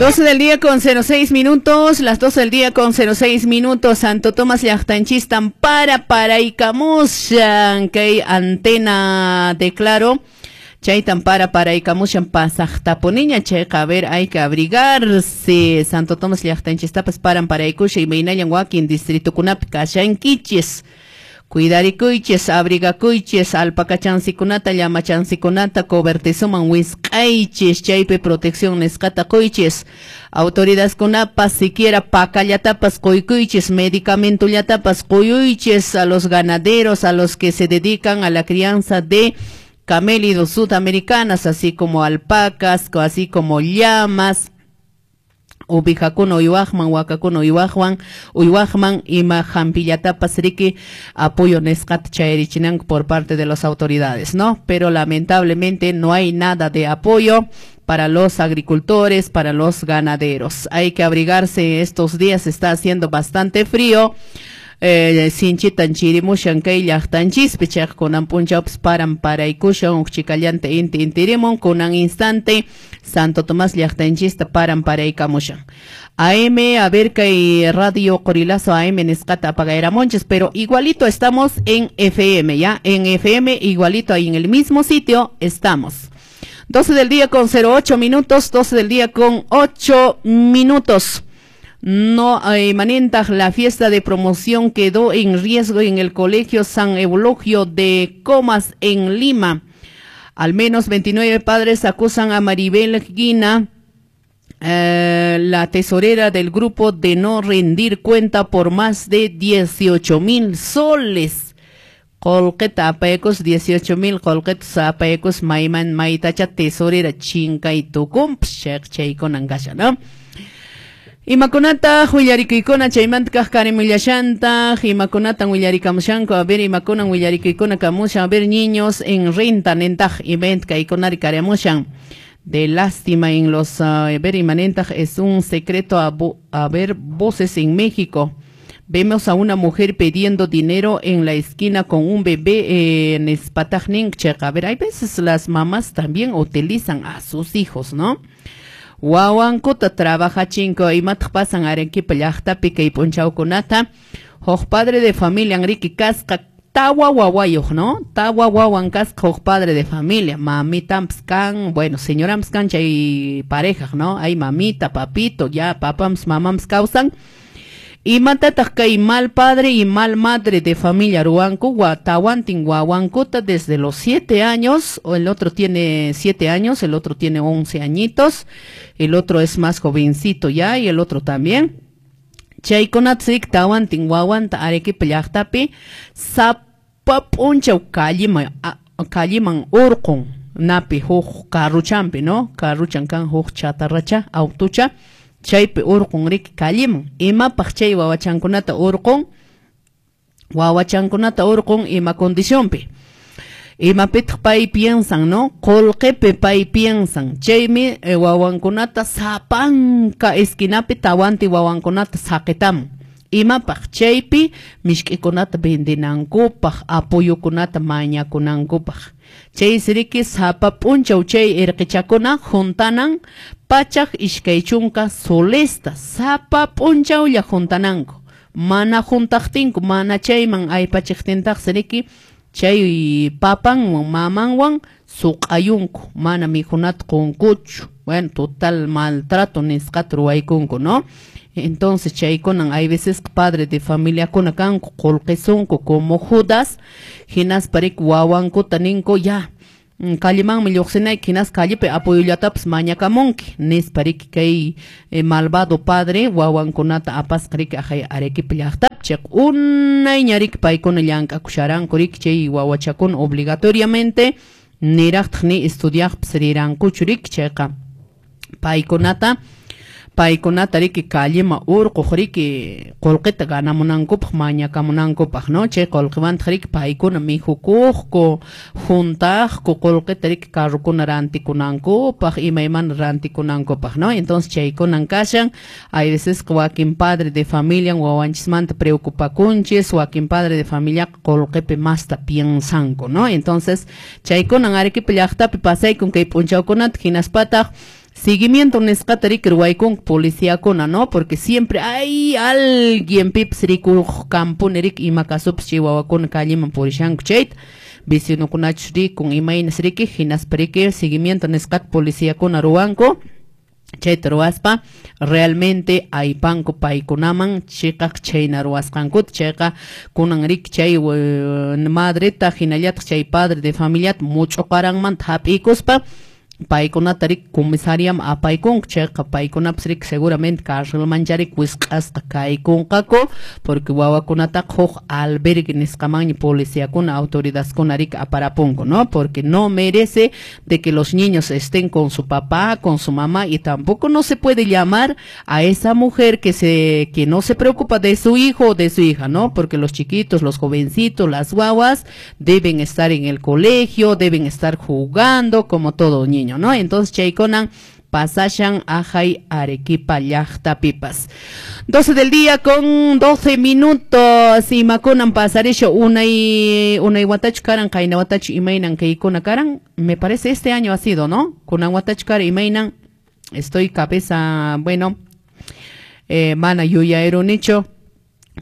12 del día con 06 minutos, las 12 del día con 06 minutos, Santo Tomás llaqtanchistan para paraykamushan kay antena de Claro, chaytan para paraykamushan pasaqtapuniña, chayqa a ver, hay que abrigarse. Santo Tomás llaqtanchistapas paran paraykusha imaynallan wakin distritukunapi kashankichis. Cuidarikuychis, abrigakuychis, alpacachansikunata, llamachansikunata, cobertizuman wisq'aychis, chaypi protección nisqata quychis. Autoridadkunapas siquiera pakallatapas quykuychis, medicamentollatapas quyuychis a los ganaderos, a los que se dedican a la crianza de camélidos sudamericanas, así como alpacas, así como llamas, ubijakuna uywaqman, wakakuna uywaqwan, uywaqman ima hampillatapas riki apoyo nisqata chayarichinanku por parte de las autoridades, ¿no? Pero lamentablemente no hay nada de apoyo para los agricultores, para los ganaderos. Hay que abrigarse estos días, está haciendo bastante frío. Sinchitan chirimushan kay llaqtanchispi, chayqa kunan p'unchawpas paran paraykushan huk chikallanta inti intirimun, kunan instante Santo Tomás llaqtanchista paran paraykamushan. AM, a ver kay Radio Qorilazo AM nisqata apagayramunchis, pero igualito estamos en FM, ¿ya? En FM igualito ahí en el mismo sitio estamos. 12 del día con 08 minutos, 12 del día con 8 minutos. No, Manentaj, la fiesta de promoción quedó en riesgo en el Colegio San Eulogio de Comas en Lima. Al menos 29 padres acusan a Maribel Guina, la tesorera del grupo, de no rendir cuenta por más de 18,000 soles. Qullqita apaykus 18,000 qullqita apaykus mayman maytacha tesorera chinkay tukunpas chaykunan kashan, ¿no? Imakunata willarikuykuna chaymanta kaq karimillashanta, imakunatan willarikamushanku, a ver imakunan willarikuykuna kamushan, a ver niños en renta nentaq event kaykunari kariamushan. De lástima en los, a ver imanentaq es un secreto a ver voces en México. Vemos a una mujer pidiendo dinero en la esquina con un bebé en Espatajnin. A ver, hay veces las mamás también utilizan a sus hijos, ¿no? Wawankuta trabajachinko imataq pasan Arequipa llaqtapi kay p'unchawkunata. Huk padre de familia Enrique kasqa tawa wawayuq, ¿no? Tawa wawan kasqa huk padre de familia. Mamitampas kan, bueno, señorampas kan chay pareja, ¿no? Hay mamita, papito, ya papams, mamams kawsan. Imatataq kay mal padre y mal madre de familia ruwanku, tawantin wawankuta desde los 7 años, o el otro tiene 7 años, el otro tiene 11 añitos, el otro es más jovencito ya, y el otro también. Chaykunatzik tawantin wawanta Arequipa llaqtapi sapa p'unchaw kalliman urqun napi huk carruchampi, ¿no? Carruchan kan huk chatarracha, autucha. Chaypi urqun riki kalliman. Imapaq chay wawachankunata urqun? Wawachankunata urqun ima condicionpi. Imapitaq pay piensan, ¿no? Qullqipi pay piensan. Chaymi wawankunata sapanka esquinapi tawanti wawankunata saqitamun. Imapaq chaypi mishk'ikunata vendinankupaq, apoyokunata mañakunankupaq. Chaysi riki sapa p'unchaw chay irqichakuna juntanan 120 solesta, sapa p'unchawlla juntananku. Mana juntaqtinku, mana chayman aypachiqtintaqsi riki chay papanwan mamanwan suq'ayunku, mana mikhunata qunkuchu. Bueno, total maltrato nisqata ruwaykunku, ¿no? Entonces chaykunan hay veces padre de familia kuna kanku qullqisunku como Judas, hinaspa riki wawankuta ninku ya kallimanmi lluqsinayki, hinas kallipi apoyollatapas mañakamunki nispa riki kay malvado padre wawankunata apasqa riki ajay Arequipa llaqtapi. Chayqa unayña riki paykuna llank'akusharanku riki chay wawachakuna obligatoriamente niraqtaq ni estudiaqpas rirankuchu riki chayqa paykunata riki kallima urquq riki qullqita ganamunankupaq mañakamunankupaq, ¿no? Chay qullqiwantaq riki paykuna mikhukuqku, juntaqku qullqita riki carrukuna rantikunankupaq, imaymana rantikunankupaq, ¿no? Entonces chaykunan kashan. Hay veces wakin padre de familia wawanchismanta preocupakunchis, wakin padre de familia qullqipi masta piensanku, ¿no? Entonces chaykunan Arequipa llaqtapi pasaykun kay p'unchawkunata hinaspataq Seguimiento nisqata riki ruwaykunku policiakuna, ¿no? Porque siempre hay alguien pipas rikuq kampuni riki ima kasupas chay wawakuna calleman purishanku chayta, vecinokunachus rikun imaynas riki, hinaspa riki seguimiento nisqata policiakuna ruwanku. Chayta ruwaspa realmente aypanku paykunaman chiqaq chayna ruwasqankuta. Chayqa kunan riki chay madreta hinallataq chay padre de familiata much'uqaranmanta hap'ikuspa paykunata riki comisariaman apaykunku. Chayqa paykunapas riki seguramente carcelmancha riki wisq'asqa kaykunqaku, porque wawakunataqa huk albergue nisqamanña policiakuna autoridadkuna riki aparapunku, ¿no? Porque no merece de que los niños estén con su papá, con su mamá, y tampoco no se puede llamar a esa mujer que no se preocupa de su hijo o de su hija, ¿no? Porque los chiquitos, los jovencitos, las guaguas deben estar en el colegio, deben estar jugando como todo niño, ¿no? Entonces chaykunan pasashan ajay Arequipa llaqtapipas. 12 del día con 12 minutos. Imakunan pasarisho unay unay watachu karan qayna watachu imaynan kaykuna karan. Me parece este año ha sido, ¿no? Kunan watachu karan imaynan. Estoy cabeza, bueno, mana yuyayrunichu.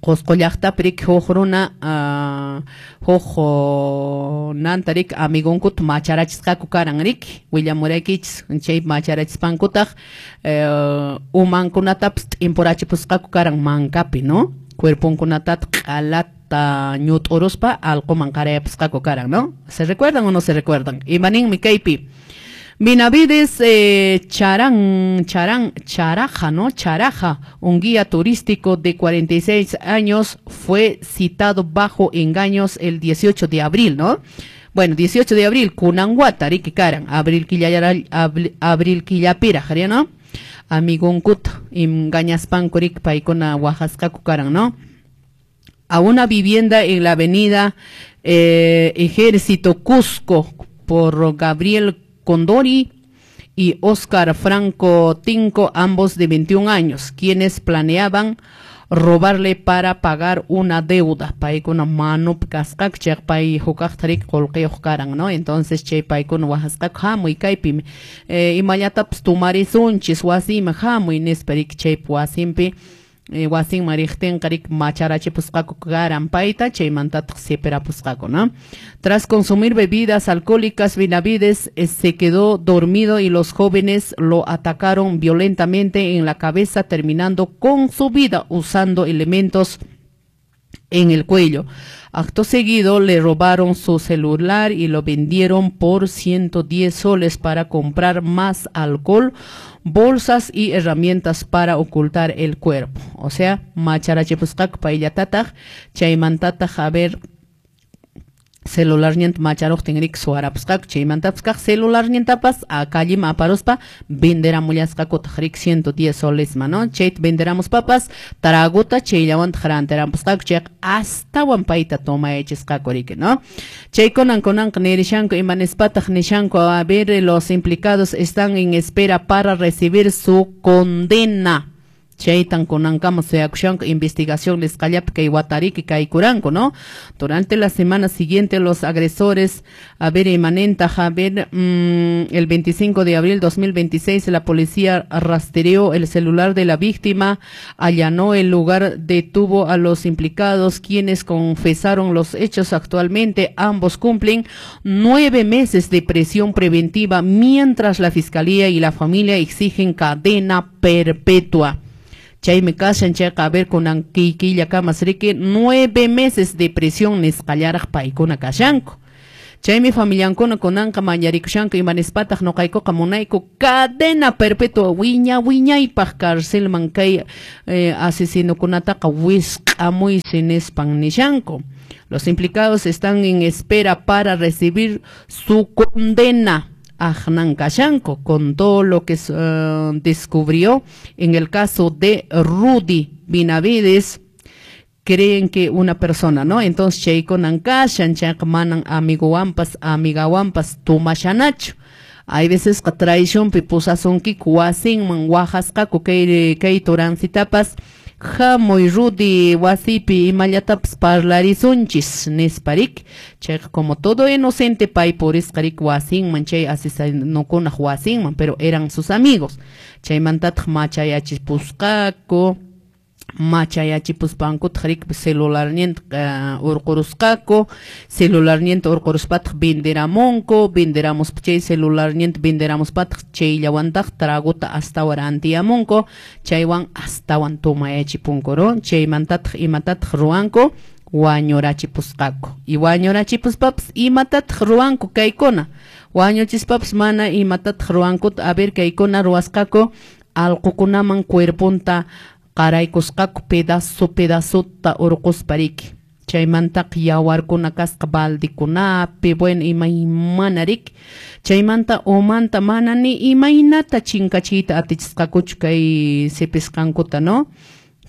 Qusqu llaqtapi riki huk runa huk nanta riki amigonkuta macharachisqaku karan riki willamuraykichis chay macharachispankutaq umankunatapas t'impurachipusqaku karan mankapi, ¿no? Cuerponkunatataq q'alata ñut'uruspa allquman qarayapusqaku karan, ¿no? ¿Se recuerdan o no se recuerdan? Imaninmi kaypi Benavides Charaja, ¿no? Charaja, un guía turístico de 46 años, fue citado bajo engaños el 18 de abril, ¿no? Bueno, 18 de abril, kunan wata, riki karan, abril abril killapiraq, ¿no? Amigonkuta, engañaspanku riki paykuna waqasqaku karan, ¿no? A una vivienda en la avenida Ejército Cusco por Gabriel Condori y Oscar Franco Tinco, ambos de 21 años, quienes planeaban robarle para pagar una deuda. Paykuna manupi kasqaku, chayqa pay hukaqta riki qullqiyuq karan, ¿no? Entonces chay paykuna waqasqaku hamuy kaypi imallatapas tumarisunchis wasiyman hamuy nispa riki chaypi wasinpi wasinman riqtinqa riki macharachipusqaku karan payta, chaymantataq sipirapusqaku, ¿no? Tras consumir bebidas alcohólicas, Benavides se quedó dormido y los jóvenes lo atacaron violentamente en la cabeza, terminando con su vida usando elementos en el cuello. Acto seguido le robaron su celular y lo vendieron por 110 soles para comprar más alcohol, bolsas y herramientas para ocultar el cuerpo. O sea, macharachipusqaku payllatataq, chaymantataq a ver celularninta macharuqtin riki suwarapusqaku, chaymantapas kaq celularnintapas a calleman aparuspa venderamullasqakutaq riki 110 solesman, ¿no? Chayta venderamuspapas traguta chayllawantaq rantirampusqaku, chayqa astawan payta tomayachisqaku riki, ¿no? Chaykunan kunanqa nirishanku, ima nispataq nishanku, a ver, los implicados están en espera para recibir su condena. Chaytan kunankama suyakushanku investigación nisqallapi kay watariki kaykuranku, ¿no? Durante la semana siguiente los agresores, a ver, imanentaq, a ver, el 25 de abril 2026 la policía rastreó el celular de la víctima, allanó el lugar, detuvo a los implicados, quienes confesaron los hechos. Actualmente ambos cumplen 9 meses de prisión preventiva, mientras la fiscalía y la familia exigen cadena perpetua. Chaymi kashan chayqa, a ver, kunan killakamas riki 9 meses de prisión nisqallaraq paykuna kashanku. Chaymi familiankuna kunanqa mañarikushanku, ima nispataq nuqaykuqa munayku cadena perpetua wiña wiñaypaq carcelman kay asesinokunataqa wisq'amuysi nispan nishanku. Los implicados están en espera para recibir su condena. Ajnan kashanku con todo lo que descubrió en el caso de Rudy Benavides, creen que una persona, ¿no? Entonces chaykunan kashan, chayqa manan amiguwanpas amigawanpas tumashanachu. Hay veces que traicionpi pusasunkiku wasinman waqasqaku kay turancitapas Hamuy Rudy wasipi imallatapas parlarisunchis nispa riki. Chayqa como todo inocente pay purisqa riki wasinman chay asesinokunaq wasinman, pero eran sus amigos. Chaymantataq machayachipusqaku, machayachipuspankutaq riki celularninta urqurusqaku, celularninta urquruspataq venderamunku, venderamuspa chay celularninta venderamuspataq chayllawantaq tragota astawan rantiyamunku, chaywan astawan tomayachipunku, ¿no? Chaymantataq imatataq ruwanku? Wañurachipusqaku. Y wañurachipuspapas imatataq ruwanku kaykuna? Wañuchispapas mana imatataq ruwankuta, a ver kaykuna ruwasqaku, allqukunaman cuerponta qaraykusqaku pedazo pedazota urquspa riki. Chaymantaqa yawarkuna kasqa baldekunapi, bueno, imaymana riki. Chaymanta umanta mana ni imaynata chinkachiyta atichisqakuchu kay sipisqankuta, ¿no?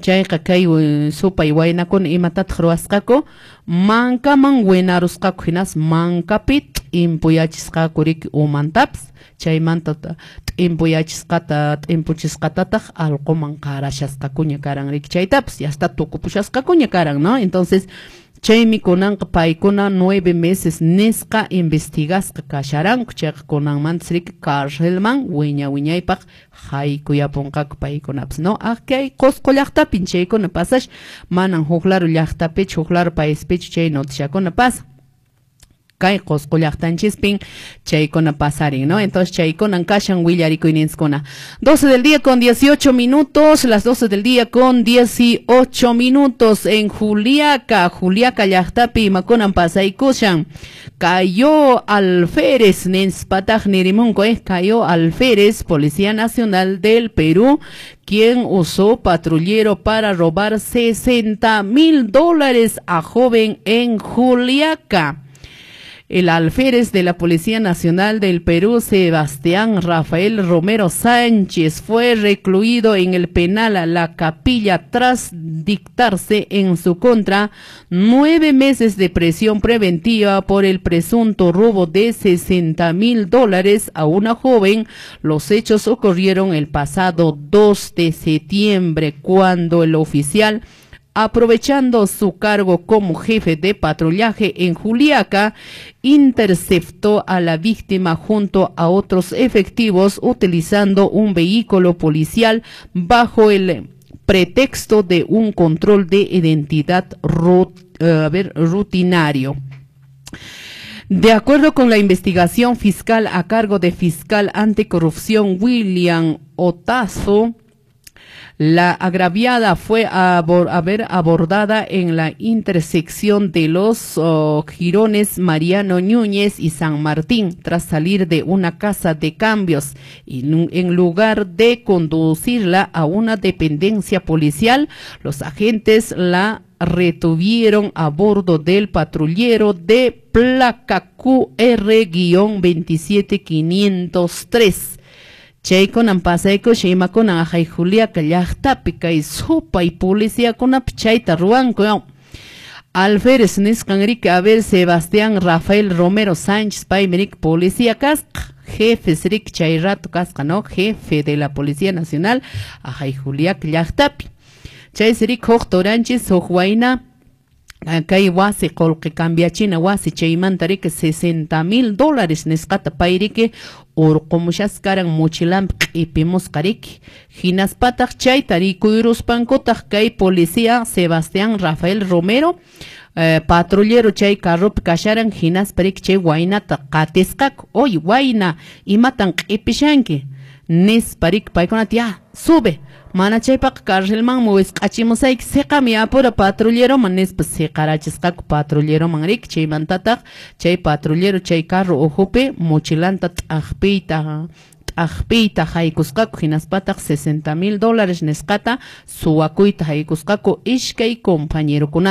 Chayqa kay supay waynakuna imatataq ruwasqaku? Mankaman winarusqaku, hinas mankapi t'impuyachisqaku riki umantapas. Chaymanta t'impuyachisqata t'impuchisqatataq allquman qarashasqakuña karan riki chaytapas, ya está tukupushasqakuña karan, ¿no? Entonces chaymi kunanqa paykuna 9 meses nisqa investigasqa kasharanku, chayqa kunanmantas riki carcelman wiña wiñaypaq haykuyapunqaku paykunapas, ¿no? Ah, kay Qosqo llaqtapin chaykuna pasash, manan huk laro llaqtapichu, huk laro paispichu chay noticiakuna pasa. Kay Qosqo llaqtanchispin chaykuna pasarin, ¿no? Entonces chaykunan kashan willarikuyninskuna. 12 del día con 18 minutos, las 12 del día con 18 minutos en Juliaca, Juliaca llaqtapi imakunan pasaykushan. Cayó alférez, nispataq nirimunku, cayó alférez, Policía Nacional del Perú, quien usó patrullero para robar $60,000 a joven en Juliaca. El alférez de la Policía Nacional del Perú, Sebastián Rafael Romero Sánchez, fue recluido en el penal a La Capilla tras dictarse en su contra 9 meses de prisión preventiva por el presunto robo de $60,000 a una joven. Los hechos ocurrieron el pasado 2 de septiembre, cuando el oficial, aprovechando su cargo como jefe de patrullaje en Juliaca, interceptó a la víctima junto a otros efectivos utilizando un vehículo policial bajo el pretexto de un control de identidad rutinario. De acuerdo con la investigación fiscal a cargo de fiscal anticorrupción William Otazo, la agraviada fue abordada en la intersección de los jirones Mariano Núñez y San Martín tras salir de una casa de cambios y en lugar de conducirla a una dependencia policial, los agentes la retuvieron a bordo del patrullero de placa QR-27503. Chaykunan pasaykusha imakunan ajay Juliaca llaqtapi kay supay policiakunapi chayta ruwanku. Alférez nisqan riki, a ver, Sebastián Rafael Romero Sánchez paymi riki policía kasqa, jefes riki chay rato kasqa, ¿no? Jefe de la Policía Nacional ajay Juliaca llaqtapi. Chaysi riki huk turanchis huk wayna kay wasi qullqi cambiachina wasi chaymanta riki $60,000 nisqata pay riki urqumushasqa karan mochilanpi q'ipimusqa riki. Hinaspataq chayta rikuyruspankutaq kay policía Sebastián Rafael Romero patrullero chay carropi kasharan, hinaspa riki chay waynata qatisqaku. Oy wayna, imatan q'ipishanki nispa riki paykunata, ya sube, mana chaypaqa carcelmanmi wisq'achimusayki, siqami apura patrulleroman nispa siqarachisqaku patrulleroman riki. Chaymantataq chay patrullero chay carro uhupi mochilanta t'aqpiyta haykusqaku, hinaspataq $60,000 nisqata suwakuyta haykusqaku ishkay compañerokunata.